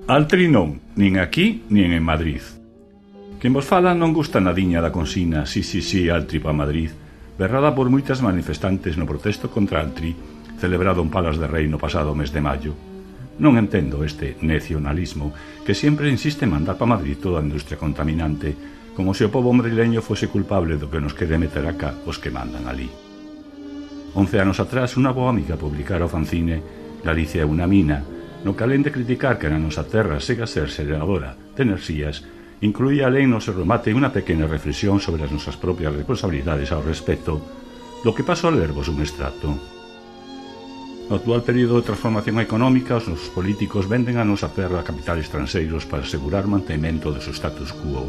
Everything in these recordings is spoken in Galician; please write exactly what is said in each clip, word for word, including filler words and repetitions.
Altri non, nin aquí, nin en Madrid. Quen vos fala non gusta nadiña da consigna "Si, si, si, Altri pa Madrid", berrada por moitas manifestantes no protesto contra Altri, celebrado en Palas de Rei no pasado mes de maio. Non entendo este nacionalismo que sempre insiste en mandar pa Madrid toda a industria contaminante, como se o pobo madrileño fose culpable do que nos quere meter acá os que mandan ali. Once anos atrás, unha boa amiga publicara o fanzine Galicia é unha mina, no que alén de criticar que na nosa terra sega a ser xeradora de enerxías, incluía alén no seu remate unha pequena reflexión sobre as nosas propias responsabilidades ao respecto, do que paso a lervos un extracto. No actual período de transformación económica, os nosos políticos venden a nosa terra a capitales estranxeiros para asegurar o mantemento do seu status quo.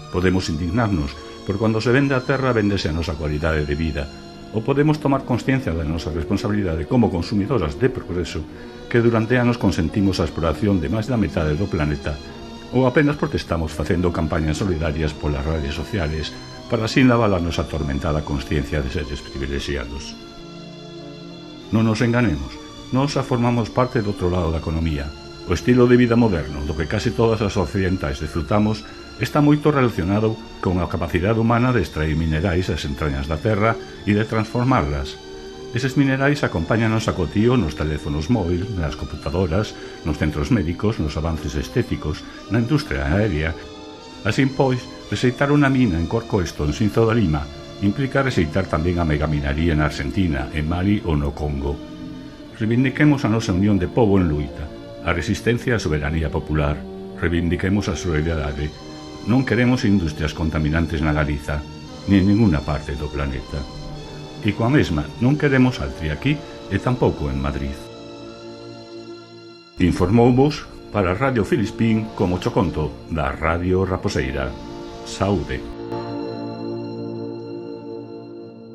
Podemos indignarnos, por cando se vende a terra vendese a nosa cualidade de vida, ou podemos tomar consciencia da nosa responsabilidade como consumidoras de progreso que durante anos consentimos a exploración de máis da metade do planeta ou apenas protestamos facendo campañas solidarias polas redes sociales para así lavar a nosa atormentada consciencia de seres privilexiados. Non nos enganemos, nós xa formamos parte do outro lado da economía. O estilo de vida moderno, do que case todas as occidentais disfrutamos, está moito relacionado con a capacidade humana de extraer minerais das entrañas da terra e de transformarlas. Eses minerais acompáñanos a cotío nos teléfonos móviles, nas computadoras, nos centros médicos, nos avances estéticos, na industria aérea. Así pois, receitar unha mina en Corcoesto, en Sinzo da Lima, implica receitar tamén a megaminaría na Argentina, en Mali ou no Congo. Reivindiquemos a nosa unión de pobo en luita, a resistencia á soberanía popular, reivindiquemos a solidaridade. Non queremos industrias contaminantes na Galiza, nin en ninguna parte do planeta. E coa mesma, non queremos Altri aquí e tampouco en Madrid. Informouvos para Radio Filispín como cho conto da Radio Raposeira. Saúde.